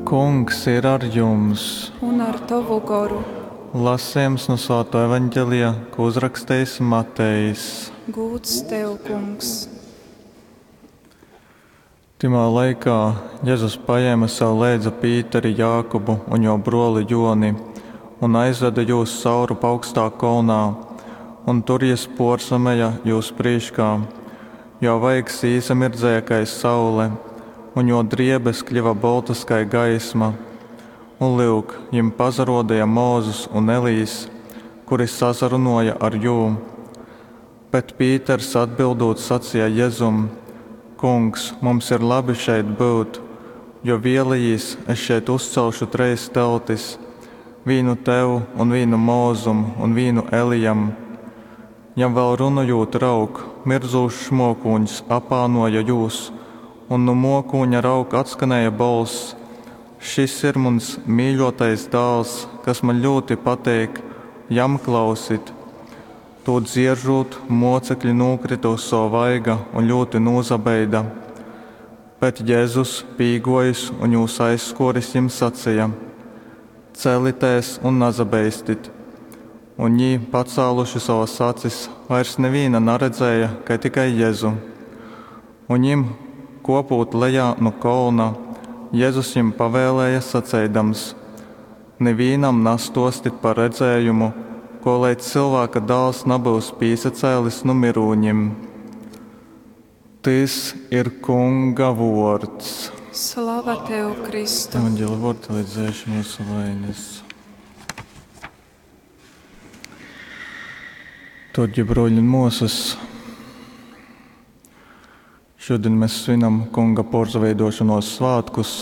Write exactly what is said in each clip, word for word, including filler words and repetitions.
Kungs ir ar jums! Un ar tovu goru. Lasījums no Svātā Evanģelija, ko uzrakstījis Matejs. Gūds tev, Kungs! Timā laikā Jēzus paēma sev leidza Pīteri, Jākubu un jo broli Joni un aizveda jūs cauru augstā kolnā, un tur jis porsameja jūs prīškā, jo vaigs īsamirdzēja kai saule, un jo driebes kļuva boltas kai gaisma. Un lyuk, jim pazarodīja Mūzus un Elīs, kuri sasarunoja ar jū. Bet Pīters atbildūt sacīja Jezum: Kungs, mums ir labi šeit būt, jo vēlējīs, es šeit uzcelšu treis teltis, vīnu tev un vīnu Mūzum un vīnu Elijam. Jam vēl runājot, raug, mirdzūšs mokūņs apānoja jūs, un no mokūņa raug atskanēja bolss: Šis ir mans mīļotais dēls, kas man ļoti pateik, jam klausit. To dzieržot, mocekļi nokrita uz savu vaiga un ļoti nūzabeida. Bet Jēzus, pīgojis un jūs aizskoris, jim sacīja: Celitēs un nazabeistit! Un jī, pacēluši savas acis, vairs neviena naredzēja, kai tikai Jēzu. Un jim, kopūt lejā no kolna, Jēzus jim pavēlēja saceidams: Nevienam nastostit par redzējumu, ko leidz cilvēka dāls nabūs pīsacēlis no mirūņim. Tys ir Kunga vords. Slava tev, Kristu! Evanģēla vordi līdz dzēš mūsu vainas. Torģi broļi un mūsas, šodien mēs svinam Kunga porzaveidošanos svētkus.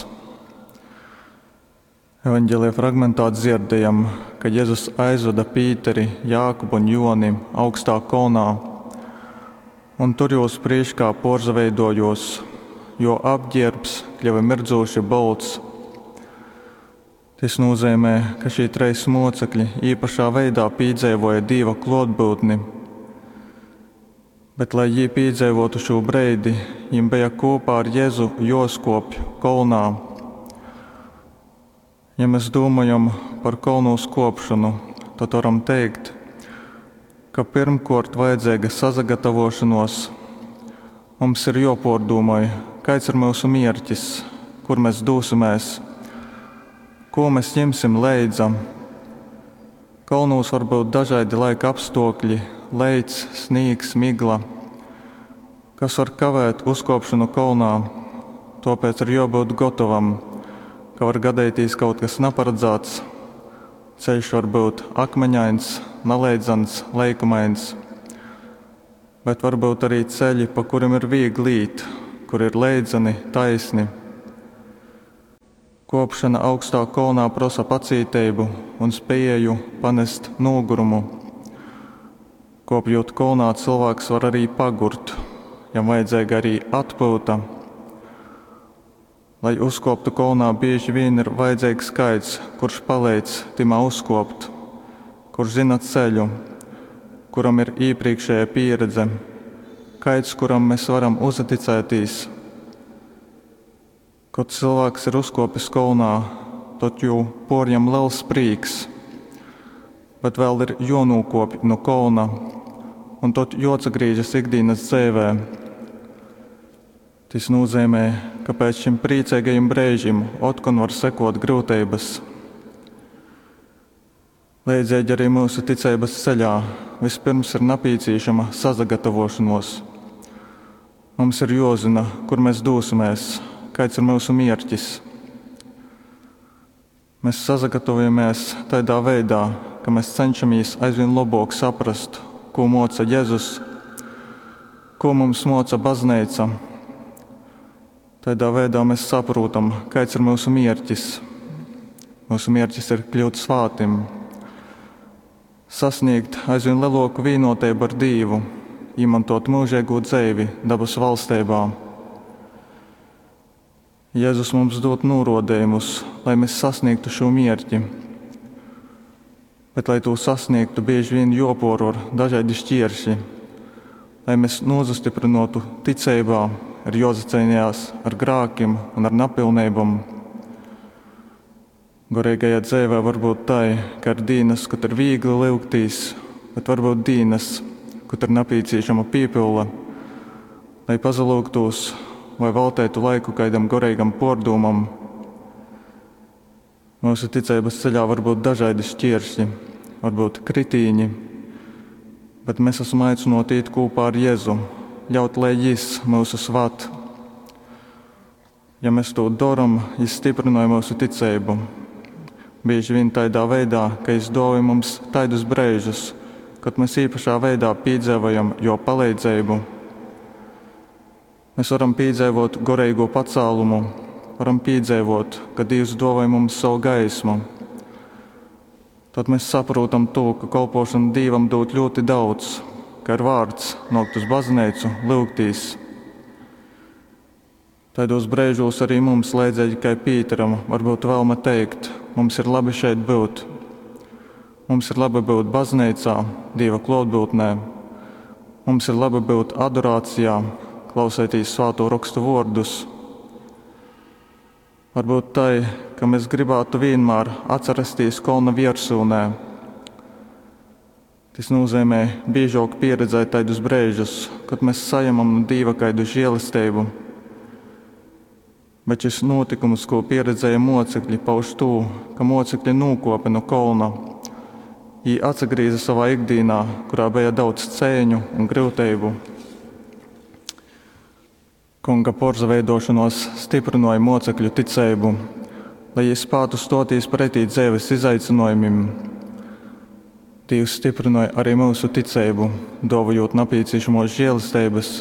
Evanģēlija fragmentā dzirdējam, ka Jēzus aizveda Pīteri, Jākubu un Joni augstā kolnā, un tur jūs priekšā porzaveidojos, jo apģērbs kļuva mirdzūši bolts. Tas nozīmē, ka šī treis mocekļi īpašā veidā piedzīvoja Dieva klātbūtni. Bet, lai jī piedzīvotu šo breidi, jim bija kopā ar Jēzu joskopj kolnā. Ja mēs domājam par kolnos kopšanu, tad varam teikt, ka pirmkort vajadzīga sazagatavošanos. Mums ir jopordūmoj, kāds ir mūsu mierķis, kur mēs dūsimies, ko mēs ņemsim leidza. Kolnūs var būt dažādi laika apstākļi, leits, snīgs, migla, kas var kavēt uzkopšanu kolnā. Tāpēc ir jābūt gatavam, ka var gadīties kaut kas neparedzēts. Ceļš var būt akmeņains, naleidzans, leikumains, bet varbūt arī ceļi, pa kuriem ir viegli īt, kur ir leidzani, taisni. Kopšana augstā kolnā prasa pacietību un spēju panest nogurumu. Kopjot kolnā, cilvēks var arī pagurt, jam vajadzīga arī atpūta. Lai uzkoptu kolnā, bieži vien ir vajadzīgs kāds, kurš palīdz timā uzkopt, kurš zina ceļu, kuram ir iepriekšēja pieredze, kāds, kuram mēs varam uzticēties. Kad cilvēks ir uzkopis kolnā, tad jū porjam liels prīks, bet vēl ir jonūkopj no kolna, un tad joatsagrīžas ikdienas dzīvē. Tas nozīmē, ka pēc šim priecīgajam brīžim otkon var sekot grūtības. Līdzīgi arī mūsu ticības ceļā vispirms ir nepieciešama sazagatavošanos. Mums ir jāzina, kur mēs dosimies, kāds ir mūsu mierķis. Mēs sazagatavojamies tādā veidā, ka mēs cenšamies aizvien labāk saprast, ko moca Jēzus, ko mums moca baznīca. Tādā veidā mēs saprotam, kāds ir mūsu mierķis. Mūsu mierķis ir kļūt svātim, sasniegt aizvien lielāku vienotību ar Dievu, izmantot mūžīgo dzīvi dabas valstībā. Jēzus mums dod norodījumus, lai mēs sasniegtu šo mierķi. Bet, lai to sasniegtu, bieži vien joporo ar dažādi šķieršļi. Lai mēs nozastiprinotu ticībā, ir jāzacīnījās ar grākiem un ar napilnībām. Goreigajā dzeivē var būt tai, ka ir dīnas, kod ir vīgli lyugtīs, bet var būt dīnas, kod ir napīcīšama pīpyule, lai pasalyugtūs vai velteitu laiku kaidam goreigam puordūmam. Myusu ticeibys ceļā var būt dažaidi škieršli, varbūt kritīņi, bet mēs esam aicynuoti īt kūpā ar Jezu, ļaut, lai Jis myusus vad. Ja mēs tū dorom, Jis stiprynoj myusu ticeibu. Bīži vīn taidā veidā, ka Jis duovoj mums taidus breižus, kod mēs īpašā veidā pīdzeivojam Juo paleidzeibu. Mēs varam pīdzeivot goreīgo pacēlumu, varam pīdzeivot, ka Dīvs duovoj mums savu gaismu. Tad mēs saprotam to, ka kolpošana Dīvam dūd ļoti daudz, ka ir vārts nākt uz baznīcu, lūgtīs. Taidos breižos arī mums, leidzīgi kai Pīteram, varbūt vēlme teikt, mums ir labi šeit būt. Mums ir labi būt baznīcā, Dieva klātbūtnē. Mums ir labi būt adorācijā, klausēties svāto rakstu vārdus. Varbūt tai, ka mēs gribētu vienmēr atcerēties kolna viersūnē. Tas nozīmē biežāk pieredzēt tādus brīžus, kad mēs saņemam no Dieva kaidu žēlastību. Bet šis notikums, ko pieredzēja mocekļi, pauž to, ka mocekļi nūkopa no kolna. Viņi atsagrīza savā ikdienā, kurā bija daudz cēņu un grūtību. Kunga porzaveidošanos stiprināja mocekļu ticību, lai viņi spētu stoties pretī dzīves izaicinājumiem. Dievs stiprināja arī mūsu ticību, dāvājot nepieciešamos žēlastības.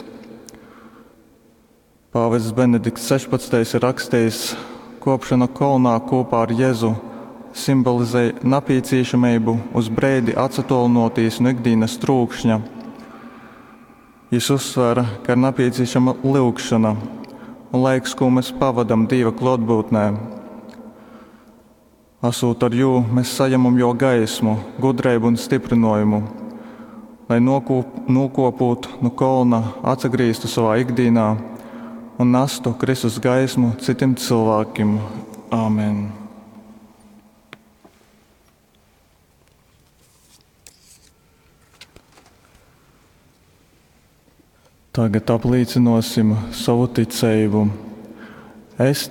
Pāvests Benedikts sešpadsmitais ir rakstījis, kopšana kolnā kopā ar Jēzu simbolizē nepieciešamību uz breidi atsatolinoties no ikdienas trūkšņa. Jis uzsvēra, ka ir nepieciešama lūgšana un laiks, ko mēs pavadam Dieva klātbūtnē. Esot ar jū, mēs saņemam jo gaismu, gudrību un stiprinājumu, lai nokūp, nokopūt no kolna, atsagrīztu savā ikdienā un nestu Kristus gaismu citiem cilvēkiem. Āmen! Tagad apliecināsim savu ticību. Es